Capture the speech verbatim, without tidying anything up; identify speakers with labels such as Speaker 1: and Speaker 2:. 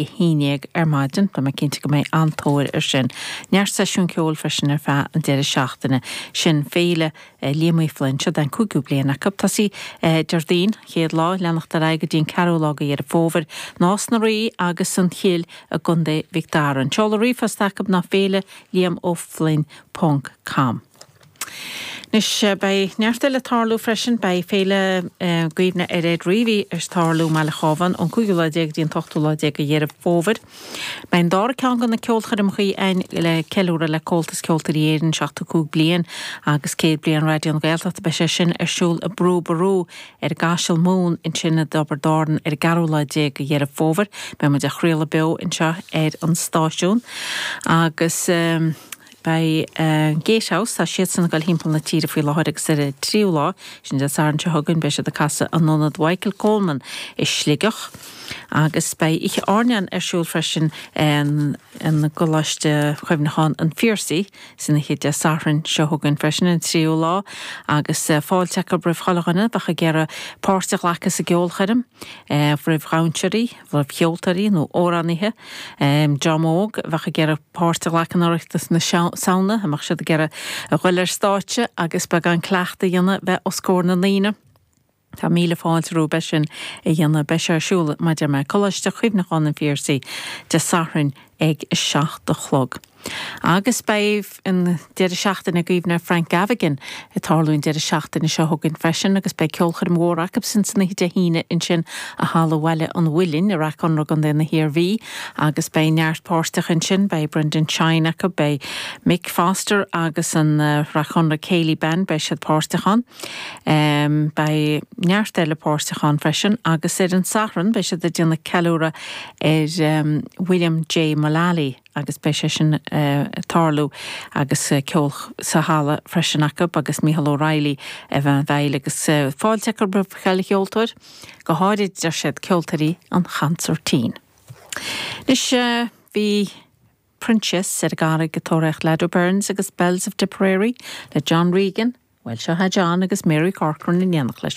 Speaker 1: a haon déag ar maidin, Tá mé cinnte go mbeidh an-tóir ar sin. Neart seisiún ceoil freisin ar feadh an deireadh seachtaine sin féile eh, Liam Uí Fhloinn seo den cúigiú bliain acu tosaí eh, Déardaoin chéad lá leanacht ar aghaidh go dtí an ceathrú lá de Dheireadh Fómhair, Nás na Rí agus an Chill i gContae Mhic Dara. An seoladh ríomhphost acu ná féile Liam Ó Floinn ponc com. Anois beidh neart eile ag tarlú freisin beidh féile eh, cuimhne ar Ed Reavy ag tarlú i mBaile Chábháin ón cúigiú lá déag go dtí an t-ochtú lá déag de Dheireadh Fómhair. Beidh an dara ceann de na ceolchoirmeacha ann le ceiliúradh le Comhaltas Ceoltóirí Éireann seachtó cúig bliain agus céad bliain Raidió na Gaeltachta beidh sé sin ar siúl i Brú Ború ar gCaiseal Mumhan ansin i dTiobraid Árann ar an gceathrú lá déag de Dheireadh Fómhair, Beidh muid á chraoladh beo anseo ar an stáisiún agus um, Beidh uh, Gatehouse tá siad ag dul timpeall na tíre faoi láthair agus ar an tríú lá sin Dé Sathairn seo chugainn beidh siad ag casadh in Ionad Michael Coleman i Sligeach. agus beidh oíche airneáin ar siúl freisin an gColáiste Chuimhneacháin an Phiarsaigh san oíche Dé Sathairn seo chugainn freisin an tríú lá agus uh, fáilte acu roimh chuile dhuine bheadh ag iarraidh páirt a ghlacadh sa gceolchoirm uh, roimh dhansóirí, roimh cheoltóirí nó amhránaithe, um, dream óg bheadh ag iarraidh páirt a ghlacadh in Oireachtas na Samhna, a mbeadh siad ag iarraidh a dhul ar stáitse agus beagán cleachtadh a dhéanamh bheith os comhair na ndaoine. Tá míle fáilte rompu sin a dhéanamh beidh sé ar siúl maidir me Coláiste Chuimhneacháin an Phiarsaigh Dé Sathairn ag a seacht a chlog. Agus beidh an deireadh seachtaine cuimhne Frank Gavigan ag tarlú an deireadh seachtaine seo chugainn freisin agus beidh ceolchoirm mhór acu sin san oíche Dé hAoine ansin i Halla Bhaile an Mhuilinn i Ráth Conrach i gContae na hIarmhí agus beidh neart páirteach ansin beidh Brendan Shine acu beidh Mick Foster agus an uh, Ráth Conrach Céilí Band beidh siad páirteach ann. Um, beidh neart eile páirteach ann freisin agus ar an Satharn beidh siad ag déanamh ceiliúradh ar um, William J. Mullally agus beidh sé sin uh, tarlú agus uh, ceol sa halla freisin acu agus Michael O'Reilly a bheith bheil agus uh, fáilte roimh chuile cheoltóir go háirid deir siad ceoltóirí an chansairtín. Anois uh, bhí Proinsias ar an gCarraig ag tóraíocht Lado Burns agus Bells of Tipperary le John Regan, Well seo John agus Mary Corcoran in éineacht leis.